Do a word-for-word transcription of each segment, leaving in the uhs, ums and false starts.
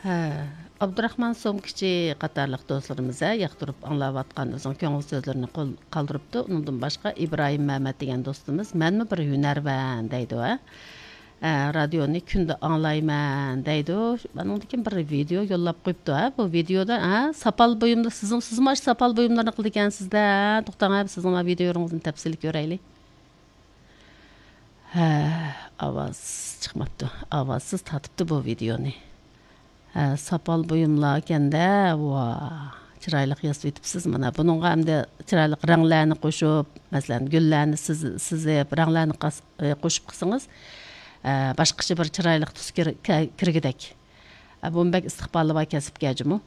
ھە، ئابدۇراخمان سومكىچى قاتارلىق دوستلىرىمىز، ھە، ياقتۇرۇپ ئاڭلاۋاتقان ئۆزىنىڭ كۆڭۈل سۆزلىرىنى قول-، قالدۇرۇپتۇ. ئۇنىڭدىن باشقا ئىبراھىم مەمەت دېگەن دوستىمىز، «مەنمۇ بىر ھۈنەرۋەن» دەيدۇ، ھە. ھە، رادىيونى كۈندە ئاڭلايمەن دەيدۇ. ئانىڭدىن كېيىن بىر ۋىدېئو يوللاپ قويۇپتۇ، ھە، بۇ ۋىدېئودا، ھە، ساپال بۇيۇمدا، سىزنىڭ، سىزمۇ ئاشۇ ساپال بۇيۇملارنى قىلىدىكەنسىز-دە، ھە، توختاڭ، ھە، سىزنىڭ ۋىدېئولىرىڭىزنى تەپسىلىي كۆرەيلى. ھە، ئاۋاز چىقماپتۇ. ئاۋازسىز تارتىپتۇ بۇ ۋىدېئونى. ھە، ساپال بۇيۇملار ئىكەن-دە، ۋا، چىرايلىق ياسىۋېتىپسىز مانا. بۇنىڭغا ئەمدى چىرايلىق رەڭلەرنى قوشۇپ، مەسىلەن، گۈللەرنى سىز-، سىزىپ، رەڭلەرنى قاس-، ئى، قوشۇپ قىلسىڭىز، ئە، باشقىچە بىر چىرايلىق تۈس كىر-، كە-، كىرگۈدەك. ئە، بۇمۇ بەك ئىستىقبالى بار كەسىپكەنجۇمۇ.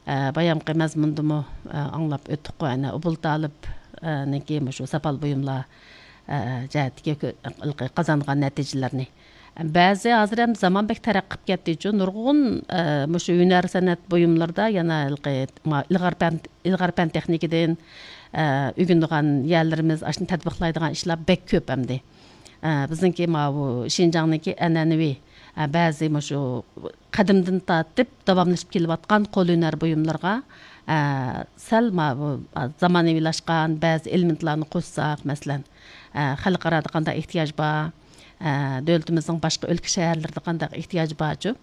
ئە، بايامقى مەزمۇندىمۇ، ئە، ئاڭلاپ ئۆتتۇققۇ، ئەنە، ئوبۇل تالىپ، ئە، نىڭكى مۇشۇ ساپال بۇيۇملار، ئە، جەھەتتىكى كۆ-، قازانغان نەتىجىلىرىنى. بەزى ھازىر ئەمدى زامان بەك تەرەققىي قىلىپ كەتتىچۇ، نۇرغۇن، ئە، مۇشۇ ھۈنەر سەنئەت بۇيۇملىرىدا يەنە ھېلىقى ما-، ئىلغار پەن، ئىلغار پەن تېخنىكىدىن، ئە، ئۆگىنىدىغان يەرلىرىمىز، ئاشۇنى تەتبىقلايدىغان ئىشلار بەك كۆپ ئەمدى. ئە، بىزنىڭكى ماۋۇ شىنجاڭنىڭكى ئەنئەنىۋى، ئە، بەزى مۇشۇ قەدىمدىن تارتىپ داۋاملىشىپ كېلىۋاتقان قول ھۈنەر بۇيۇملىرىغا، ئە، سەل ماۋۇ، ئە، زامانىۋىلاشقان بەزى ئېلېمېنتلارنى قوشساق، مەسىلەن، ئە، خەلقئارادا قانداق ئېھتىياج بار، ئە، دۆلىتىمىزنىڭ باشقا ئۆلكە شەھەرلىرىدە قانداق ئېھتىياجى بارچۇ؟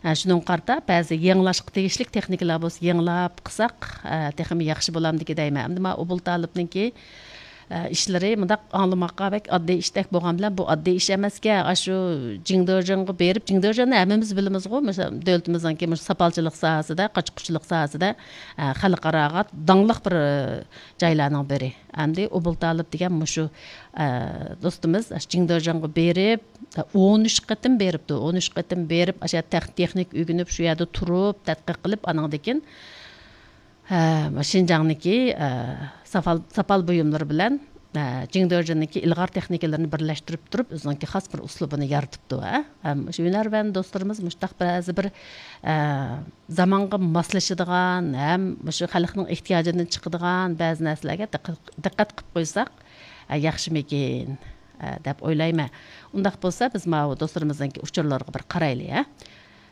ئە، شۇنىڭغا قارىتا بەزى يېڭىلاشقا تېگىشلىك تېخنىكىلار بولسا يېڭىلاپ قىلساق، ئە، تېخىمۇ ياخشى بولامدىكى دەيمەن. ئەمدى ماۋۇ ئوبۇل تالىپنىڭكى ئە، ئىشلىرى مۇنداق ئاڭلىماققا بەك ئاددىي ئىشتەك بولغان بىلەن، بۇ ئاددىي ئىش ئەمەسكەن. ئاشۇ جىڭدېجيەنغا بېرىپ، جىڭدېجيەننى ھەممىمىز بىلىمىزغۇ، مۇشۇ دۆلىتىمىزنىڭكى مۇشۇ ساپالچىلىق ساھەسىدە، قاچا-قۇچىلىق ساھەسىدە، ئە، خەلقئاراغا داڭلىق بىر، ئە، جايلارنىڭ بىرى. ئەمدى ئوبۇل تالىپ دېگەن مۇشۇ، ئە، دوستىمىز ئاشۇ جىڭدېجيەنغا بېرىپ، ئون ئۈچ قېتىم بېرىپتۇ. ئون ئۈچ قېتىم بېرىپ، ئاشۇ يەردە تېخ-، تېخنىكا ئۆگىنىپ، شۇ يەردە تۇرۇپ، تەتقىق قىلىپ، ئانىڭدىن كېيىن ھە، شىنجاڭنىڭكى، ئە، ساپال، ساپال بۇيۇملىرى بىلەن، ئە، جىڭدېجيەننىڭكى ئىلغار تېخنىكىلىرىنى بىرلەشتۈرۈپ تۇرۇپ، ئۆزىنىڭكى خاس بىر ئۇسلۇبىنى يارىتىپتۇ، ھە. ھەم شۇ ھۈنەرۋەن دوستلىرىمىز مۇشۇنداق بەزى بىر، ئە، زامانغا ماسلىشىدىغان، ھەم مۇشۇ خەلقنىڭ ئېھتىياجىدىن چىقىدىغان بەزى نەرسىلەرگە دىققەت، دىققەت قىلىپ قويساق، ئە، ياخشىمىكىن، ئە، دەپ ئويلايمەن. ئۇنداق بولسا، بىز ماۋۇ دوستلىرىمىزنىڭكى ئۇچۇرلىرىغا بىر قارايلى، ھە.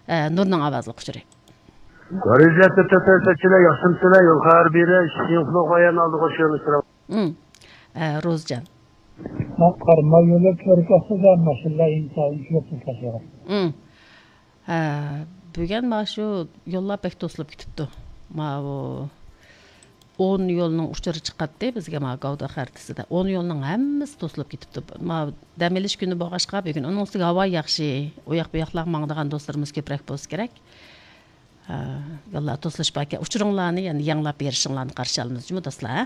ئە، نۇرنىڭ ئاۋازلىق ئۇچۇرى. گارىزەتتە تۆتەن سەتچىلەر ياخشىمسىلەر، يول خەۋەر بېرە، شىڭخۇلۇغا يەنە ئالدىغا شۇياڭلىشتۇرا. ئۇم. ئە، روزجان. مەن قارىماي يولى كۆرۈپ باقسا، ماشىنىلار ئىنتايىن كۆپ تاشلىغان. ئۇم. ئە، بۈگۈن ما شۇ يوللار بەك توسۇلۇپ كېتىپتۇ. ماۋۇ ئون يولنىڭ ئۇچۇرى چىقاتتى بىزگە ما گاۋدا خەرىتىسىدە. ئون يولنىڭ ھەممىسى توسۇلۇپ كېتىپتۇ. ما دەم ئېلىش كۈنى بولغاچقا بۈگۈن ئۇنىڭ ئۈستىگە ھاۋا ياخشى. ئۇ ياق بۇ ياقلارغا ماڭىدىغان دوستلىرىمىز كۆپرەك بولسا كېرەك. ئە، يوللار توسۇلۇش باركەن. ئۇچۇرۇڭلارنى يەنە يېڭىلاپ بېرىشىڭلارنى قارشى ئالىمىز جۇمۇ دوستلار، ھە؟